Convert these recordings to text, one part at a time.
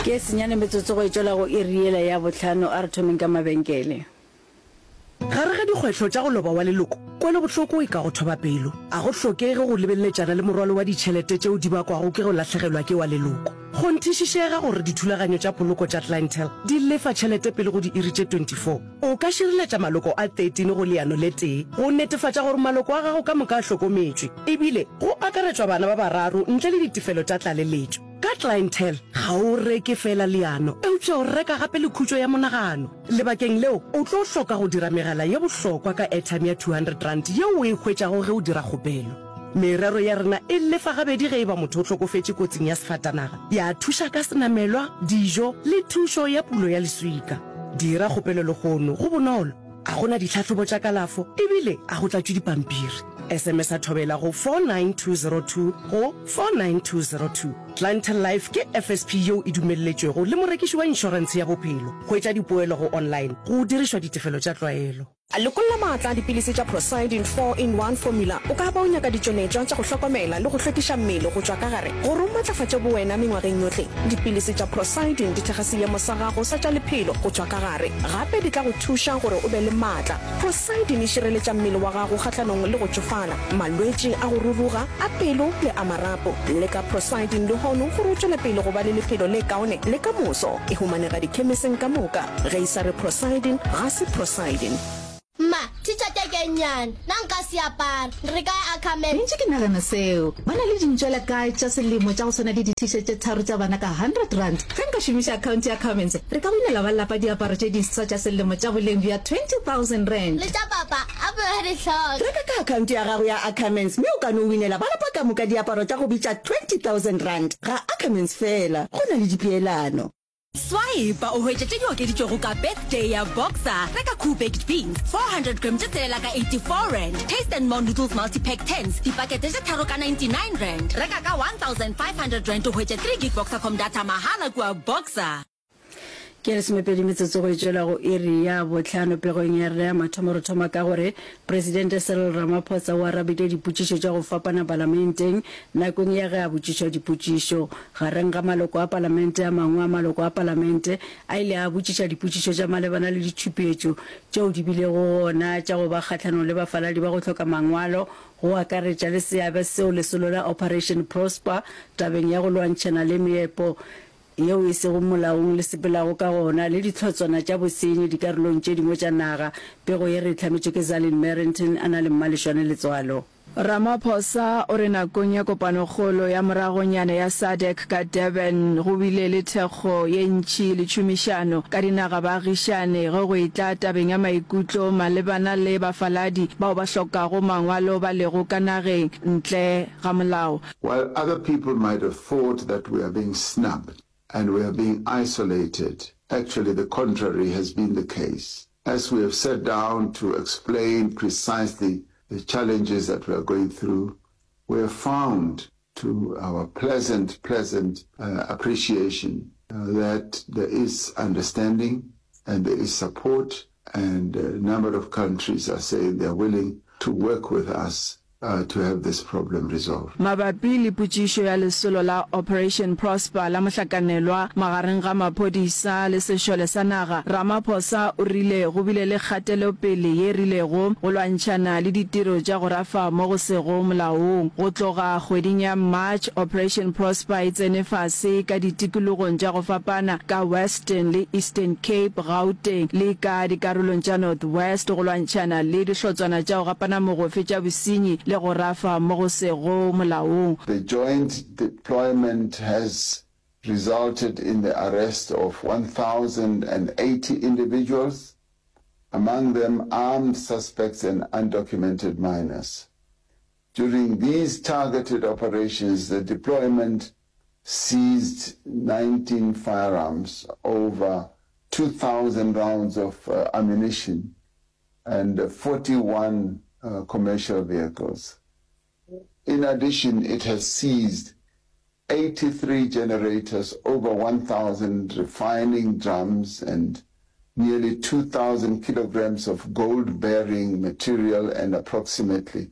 Ke senyane metsotso go e tšwela go iri yela ya bohlano. A re thomeng ka mabenkele. Gare ga dikgwetlho tša go loba wa leloko, kwelobohloko e ka go thoba pelo. A go hlokege go lebeleletšana le morwalo wa ditšhelete tšeo di bakwago ke go lahlegelwa ke wa leloko. Kgonthišišega gore dithulaganyo tša poloko tša Clientele di lefa tšhelete pele go diiri tše 24. O ka šireletša maloko a 13 go leano le tee go netefatša gore maloko a gago ka moka a hlokometšwe, ebile go akaretšwa bana ba bararo ntle le ditefelo tša tlaleletšo. Ka Clientele, ga o reke feela leano, eupša o reka gape le khutšo ya monagano. Lebakeng leo, o tlo hloka go dira megala ye bohlokwa ka airtime ya R200 yeo o e hwetšago ge o dira kgopelo. Merero ya rena e lefa gabedi ge e ba motho o hlokofetše kotsing ya sefatanaga, ya thuša ka senamelwa, dijo le thušo ya pulo ya leswika. Dira kgopelo lehono, go bonolo, ga go na ditlhahlobo tša kalafo ebile ga go tlatšwe dipampiri. SMS-a Thobela go 49202 go 49202. Clientele Life ke FSP yeo e dumelletšwego le morekiši wa inšorentshe ya bophelo. Hwetša dipoelo go online go dirišwa ditefelo tša tlwaelo. Lokolla maatla a dipilisi tša Procyldin 4-in-1 Formula. O ka ba o nyaka ditšweletšwa tša go hlokomela le go hlwekiša mmele go tšwa ka gare gore o matlafatše bowena mengwageng yohle. Dipilisi tša Procyldin di thekga seemo sa gago sa tša lephelo go tšwa ka gare. Gape di tla go thuša gore o be le maatla. Procyldin e šireletša mmele wa gago kgahlanong le go tšofala, malwetši a go ruruga, a pelo le a marapo. Leka Procyldin lehono gore o tšwele pele go ba le lephelo le kaone le ka moso. E humanega dikhemiseng ka moka. Ge e sa re Procyldin, ga se Procyldin. Mma, t-shirt e ke e nnyane. Na nka se apara? Re ka ya Ackermans. Ke ntše ke nagana seo. Ba na le dintšwela kae tša selemo tša go swana le di-t-shirt tše tharo tša bana ka R100? Ge nka šomiša akhaonte ya Ackermans, re ka winela ba lapa diaparo tše diswa tša selemo tša boleng bja R20 000. Le tša papa, a be a di hloka. Reka ka akhaonte ya gago ya Ackermans mme o ka no winela ba lapa ka moka diaparo tša go bitša R20 000. Ga Ackermans feela, go na le dipeelano. Swipe o hwetše tše di okeditšwego ka Birthday ya Boxer. Reka Koo Baked Beans 400 gram tše tshelela ka R84, Taste and More Noodles Multi-Pack Tins dipakete tše tharo ka R99. Reka ka R1500 o hwetše 3 gig Boxercom data mahala kua Boxer. Ke lesomepedi metsotso go e tšwela go iri ya bohlano. Pegong ya rena ya mathomo re thoma ka gore Presidente Cyril Ramaphosa o arabile dipotšišo tša go fapana palamenteng nakong ya ge a botšišwa dipotšišo. Gareng ga maloko a palamente a mangwe a maloko a palamente a ile a botšiša dipotšišo tša malebana le ditšhupetšo tšeo di bilego gona tša go ba kgahlanong le bafaladi ba go hloka mangwalo go akaretša le seabe seo lesolo la Operation Prosper tabeng ya go lwantšhana le meepo yeo e sego molaong le sepelago ka gona le dihlotswana tša bosenyi dikarolong tše dingwe tša naga. Pego ye re e hlametšwe ke Zalin Merrington a na le Mmalešwane Letswalo. Ramaphosa o re nakong ya kopanokgolo ya moragonyana ya SADC ka Durban go bile le thekgo ye ntši le tšhomišano ka dinaga-baagišane ge go etla tabeng ya maikutlo malebana le bafaladi bao ba hlokago mangwalo ba lego ka nageng ntle ga molao. While other people might have thought that we are being snubbed and we are being isolated, actually the contrary has been the case. As we have sat down to explain precisely the challenges that we are going through, we have found to our pleasant, pleasant uh, appreciation uh, that there is understanding and there is support, and a number of countries are saying they are willing to work with us uh, to have this problem resolved. Mabapi le potšišo ya lesolo la Operation Prosper la mohlakanelwa magareng ga maphodisa le sešole sa naga, Ramaphosa o rile go bile le kgatelopele ye rilego go lwantšhana le ditiro tša go rafa mo go sego molaong. Go tloga kgweding ya March, Operation Prosper e tsene fase ka ditikologong tša go fapana ka Western le Eastern Cape, Gauteng le ka dikarolong tša North West go lwantšhana le dihlotswana tša go gapana mogofe tša bosenyi le go rafa mo go sego molaong. The joint deployment has resulted in the arrest of 1,080 individuals, among them armed suspects and undocumented minors. During these targeted operations, the deployment seized 19 firearms, over 2,000 rounds of uh, ammunition, and 41 uh, commercial vehicles. In addition, it has seized 83 generators, over 1,000 refining drums, and nearly 2,000 kilograms of gold-bearing material and approximately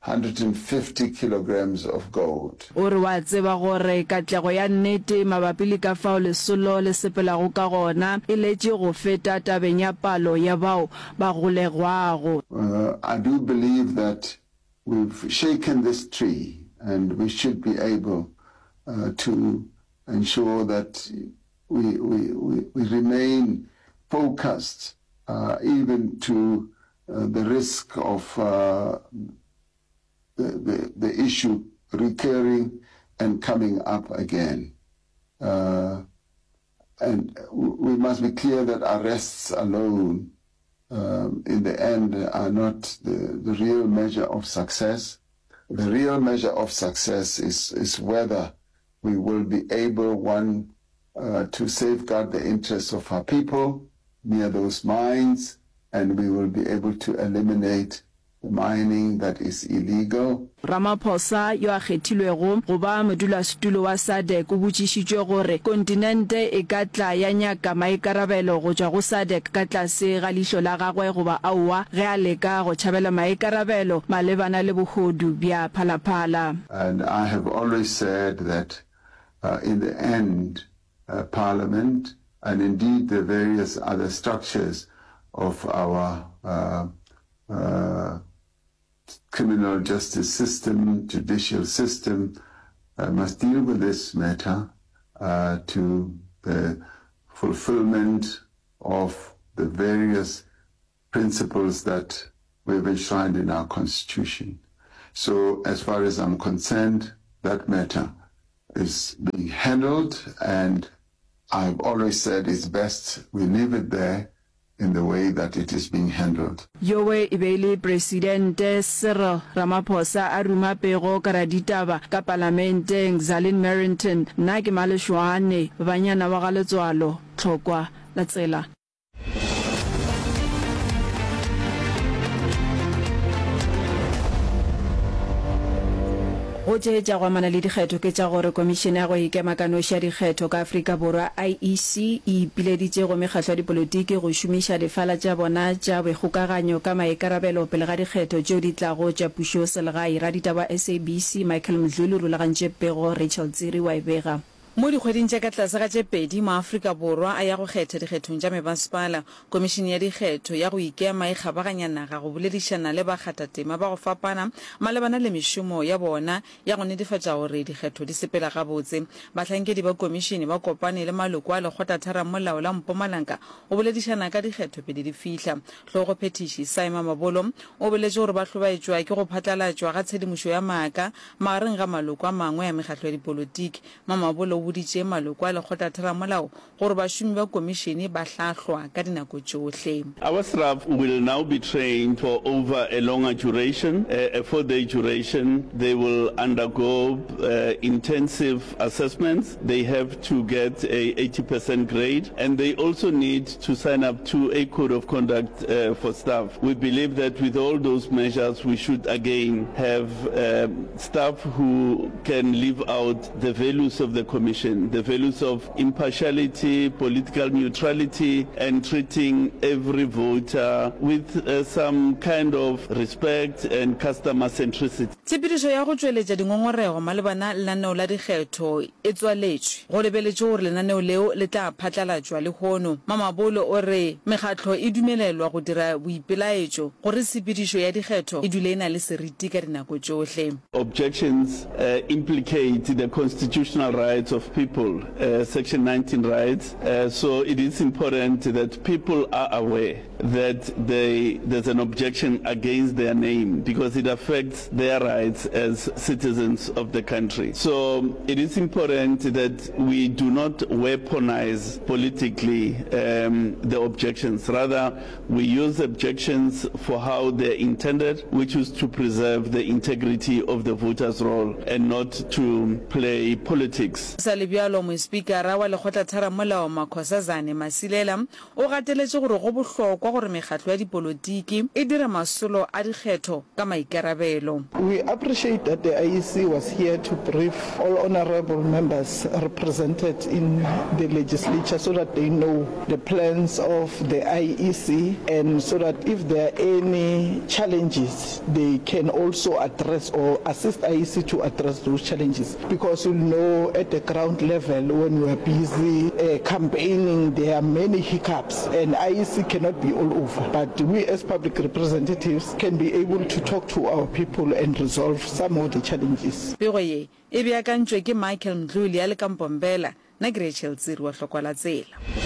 150 kilograms of gold. O re wa tseba gore katlego ya nnete mabapi le ka fao lesolo le sepelago ka gona e letše go feta tabeng ya palo ya bao ba golegwago. I do believe that we've shaken this tree and we should be able to ensure that we, we, we, we remain focused even to the risk of the, the, the issue recurring and coming up again. Uh, and we must be clear that arrests alone, um, in the end, are not the, the real measure of success. The real measure of success is, is whether we will be able, one, uh, to safeguard the interests of our people near those mines, and we will be able to eliminate the mining that is illegal. Ramaphosa, yo a kgethilwego go ba modulasetulo wa SADC, o botšišitšwe gore kontinente e ka tla ya nyaka maikarabelo go tšwa go SADC ka tlase ga leihlo la gagwe goba aowa ge a leka go tšhabela maikarabelo malebana le bohodu bja Phalaphala. And I have always said that in the end Parliament and indeed the various other structures of our criminal justice system, judicial system, must deal with this matter to the fulfillment of the various principles that we have enshrined in our constitution. So as far as I'm concerned, that matter is being handled and I've always said it's best we leave it there in the way that it is being handled. Yowe e be e le Presidente Cyril Ramaphosa a ruma pego ka raditaba ka Palamenteng, Zalin Merrington, Nna ke Maleshwane, banyana wa ga Letswalo, Tlhokwa la tsela. Go tše tša go amana le dikgetho ke tša gore Komišene ya go Ikema ka Noši ya Dikgetho ka Afrika Borwa, IEC, e ipileditše go mekgatlo ya dipolotiki go šomiša difala tša bona tša boikgokaganyo ka maikarabelo pele ga dikgetho tšeo di tlago tša pušoselegae. Raditaba wa SABC Michael Mdluli o rulagantše pego, Rachel Tsiri wa e bega. Mo dikgweding tša ka tlase ga tše pedi maAfrika Borwa a ya go kgetha dikgethong tša mebasepala, Komišene ya Dikgetho ya go Ikema e kgabaganya naga go boledišana le bakgathatema ba go fapana malebana le mešomo ya bona ya go netefatša gore dikgetho di sepela gabotse. Bahlankedi ba komišene ba kopane le maloko a Lekgotlatharamolao la Mpumalanga go boledišana ka dikgetho pele di fihla. Hlogophethiši Sy Mamabolo o boletše gore ba hlobaetšwa ke go phatlalatšwa ga tshedimošo ya maaka magareng ga maloko a mangwe a mekgatlo ya dipolotiki. Mamabolo o boditše maloko a lekgotlatheramolao gore bašomi ba komišene ba hlahlwa ka dinako tšohle. Our staff will now be trained for over a longer duration, a four-day duration. They will undergo intensive assessments. They have to get a 80% grade and they also need to sign up to a code of conduct for staff. We believe that with all those measures we should again have staff who can live out the values of the commission, the values of impartiality, political neutrality and treating every voter with some kind of respect and customer centricity. Tshepedišo ya go tšweletša dingongorego malebana le lenaneo la dikgetho e tswaletšwe. Go lebeletšwe gore lenaneo leo le tla phatlalatšwa lehono. Mamabolo o re mekgatlo e dumelelwa go dira boipelaetšo gore tshepedišo ya dikgetho e dule e na le seriti ka dinako tšohle. Objections implicate the constitutional rights of people, Section 19 rights, so it is important that people are aware that they, there's an objection against their name because it affects their rights as citizens of the country. So it is important that we do not weaponize politically um, the objections. Rather, we use objections for how they're intended, which is to preserve the integrity of the voters' roll and not to play politics. sa le bjalo, Mospikara wa Lekgotlatheramolao Makhosazane Masilela o gateletše gore go bohlokwa gore mekgatlo ya dipolotiki e dire masolo a dikgetho ka maikarabelo. We appreciate that the IEC was here to brief all honourable members represented in the legislature so that they know the plans of the IEC and so that if there are any challenges they can also address or assist IEC to address those challenges because you'll know at the ground level when we are busy uh, campaigning there are many hiccups and IEC cannot be all over but we as public representatives can be able to talk to our people and resolve some of the challenges. Pego ye e beakantšwe ke Michael Mdluli a le ka Mbombela, nna ke Rachel Tsiri wa Hlokwa la Tsela.